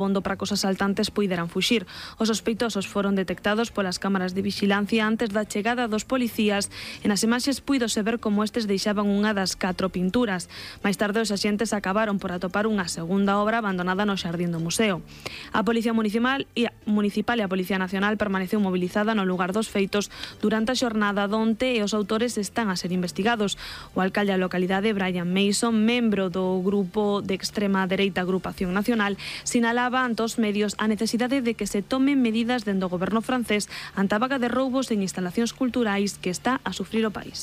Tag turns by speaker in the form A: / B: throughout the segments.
A: bondo para que os asaltantes puideran fuxir. Os sospeitosos foron detectados polas cámaras de vixilancia antes da chegada dos policías e nas imaxes puídose ver como estes deixaban unha das 4 pinturas. Máis tarde os axentes acabaron por atopar unha segunda obra abandonada no xardín do museo. A Policía Municipal e a Policía Nacional permaneceu mobilizada no lugar dos feitos durante a xornada donte e os autores están a ser investigados. O alcalde da localidade, Brian Mason, membro do grupo de extrema dereita Agrupación Nacional, sinalaba ante os medios a necesidade de que se tomen medidas dende o goberno francés ante a vaga de roubos en instalacións culturais que está a sufrir o país.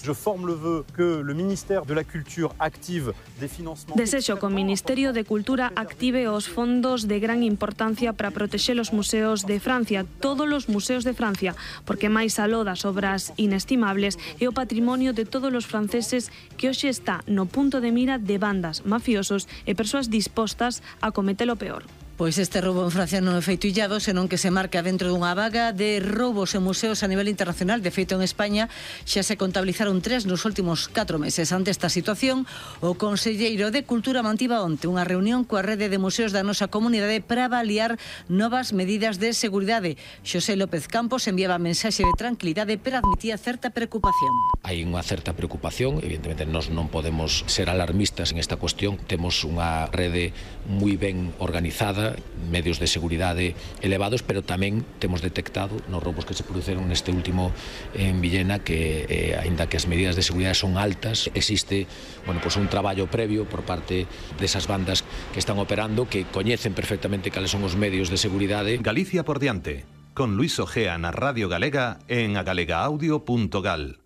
A: Desexo que o Ministerio de Cultura active os fondos de gran importancia para protexer os museos de Francia, todos os museos de Francia, porque máis aló das obras inestimables é o patrimonio de todos os franceses que hoxe está no punto de mira de bandas, mafiosos e persoas dispostas a cometer o peor.
B: Pois este roubo en Francia non é feito illado, senón que se marca dentro dunha vaga de roubos en museos a nivel internacional. De feito, en España xa se contabilizaron 3 nos últimos 4 meses. Ante esta situación, o conselleiro de Cultura mantivo onte unha reunión coa rede de museos da nosa comunidade para avaliar novas medidas de seguridade. Xosé López Campos enviaba mensaxe de tranquilidade, pero admitía certa preocupación.
C: Hai unha certa preocupación, evidentemente nós non podemos ser alarmistas en esta cuestión. Temos unha rede moi ben organizada, medios de seguridade elevados, pero tamén temos detectado nos roubos que se produceron neste último en Villena que, aínda que as medidas de seguridade son altas, existe un traballo previo por parte desas bandas que están operando, que coñecen perfectamente cales son os medios de seguridade.
D: Galicia por diante, con Luis Ojea na Radio Galega en agalegaudio.gal.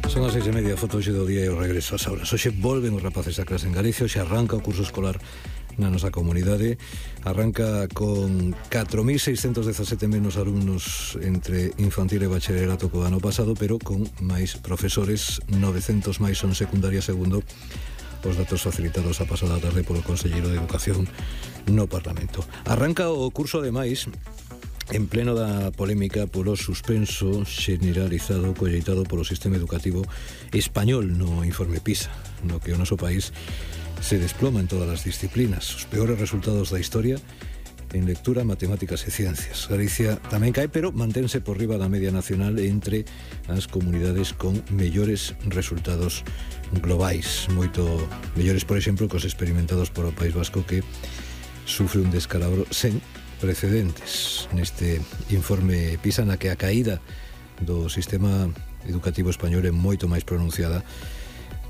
E: Son as 6:30, foto hoxe do día e o regreso ás aulas. Hoxe volven os rapaces a clase en Galicia, hoxe arranca o curso escolar na nosa comunidade. Arranca con 4.617 menos alumnos entre infantil e bacharelato co ano pasado, pero con máis profesores, 900 máis son secundaria segundo os datos facilitados a pasada tarde polo Conselleiro de Educación no Parlamento. Arranca o curso, ademais, en pleno da polémica polo suspenso generalizado colleitado polo sistema educativo español no informe PISA, no que o noso país se desploma en todas as disciplinas, os peores resultados da historia en lectura, matemáticas e ciencias. Galicia tamén cae, pero mantense por riba da media nacional entre as comunidades con mellores resultados globais, moito mellores, por exemplo, que os experimentados por o País Vasco, que sufre un descalabro sen precedentes neste informe PISA, na que a caída do sistema educativo español é moito máis pronunciada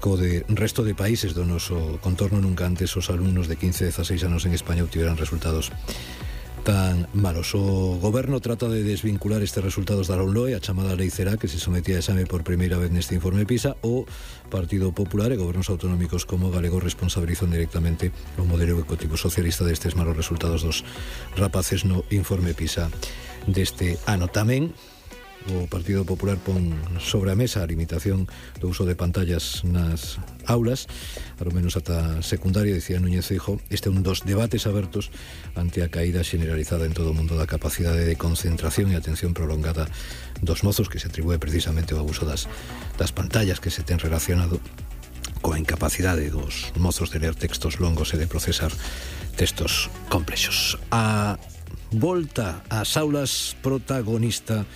E: co de resto de países do noso contorno. Nunca antes os alumnos de 15 e 16 anos en España obtiveran resultados tan malos. O goberno trata de desvincular estes resultados da LOMLOE, a chamada Lei Cerá, que se sometía a exame por primeira vez neste informe PISA. O Partido Popular e gobernos autonómicos como galego responsabilizan directamente o modelo educativo socialista destes malos resultados dos rapaces no informe PISA deste ano. Tamén o Partido Popular pon sobre a mesa a limitación do uso de pantallas nas aulas, ao menos ata secundaria. Dicía Núñez Feijóo, este é un dos debates abertos ante a caída generalizada en todo o mundo da capacidade de concentración e atención prolongada dos mozos, que se atribúe precisamente ao abuso das pantallas, que se ten relacionado coa incapacidade dos mozos de ler textos longos e de procesar textos complexos. A volta ás aulas, protagonista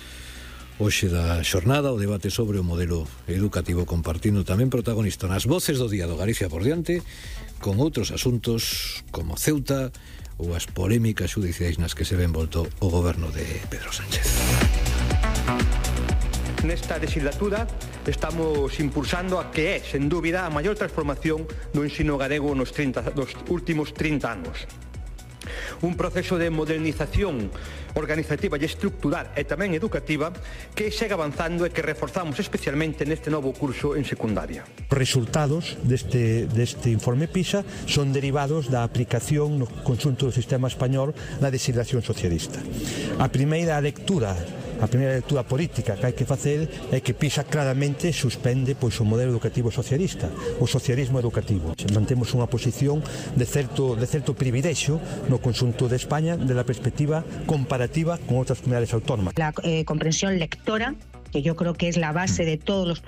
E: hoxe da xornada, o debate sobre o modelo educativo, compartindo tamén protagonista nas voces do día do Galicia por diante, con outros asuntos como Ceuta ou as polémicas xudiciais nas que se ve envolto o goberno de Pedro Sánchez.
F: Nesta legislatura estamos impulsando a que é, sen dúbida, a maior transformación do ensino galego nos últimos 30 anos. Un proceso de modernización organizativa e estructural e tamén educativa que segue avanzando e que reforzamos especialmente neste novo curso en secundaria.
G: Os resultados deste informe PISA son derivados da aplicación no conxunto do sistema español na legislación socialista. A primeira lectura política que hai que facer é que PISA claramente suspende o modelo educativo socialista, o socialismo educativo. Mantemos unha posición de certo privilexio no conxunto de España de la perspectiva comparativa con outras comunidades autónomas.
H: La comprensión lectora, que yo creo que es la base de todos los